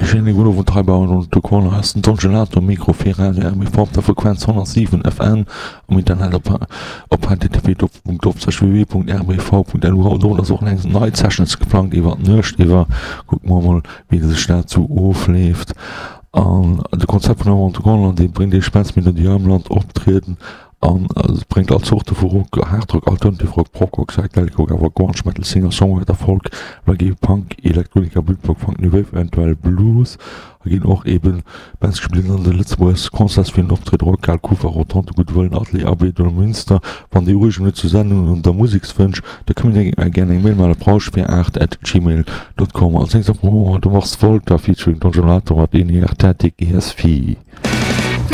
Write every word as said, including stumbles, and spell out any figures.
Schéine gudden Owend hei bei On The Corner ass den Don Gelato um Mikro fir Radio R B V op der Frequenz honnertsiwen F M, am Internet op op H T T P doppelpunkt doppelslash W W W Punkt R B V Punkt L U. Haut Owend ass och eng nei Sessions geplangt iwwer d'Nuecht iwwer. Kucke mer mol, wéi sech dat sou ofleeft. An de Konzept vun On The Corner, dee bréngt iech Bands déi am Land optrieden an et bréngt all Zorte vu Rock, Hardrock, Alternative Rock, Prog-Rock, Psychedelic Rock, awer Grunge, Metal, Singer, Songwriter, Folk, Reggae, Punk, Electronica, Britpop, Funk, New Wave, eventuell Blues. A ginn och eben Bands gespillt an de Lëtzebuerger Concerts fir den Optrëtt Rockhal, Kufa, Rotonde, Gudde Wëllen, Atelier A B oder Münster. Wann Dir Ureegungen hutt zur Sendung oder Musekswënsch, da kënnt Dir gär eng Mail maachen op rauschfir aacht at gmail dot com. Als nächst op de Mars Volta featuring Don Gelato mat Energetic E S V.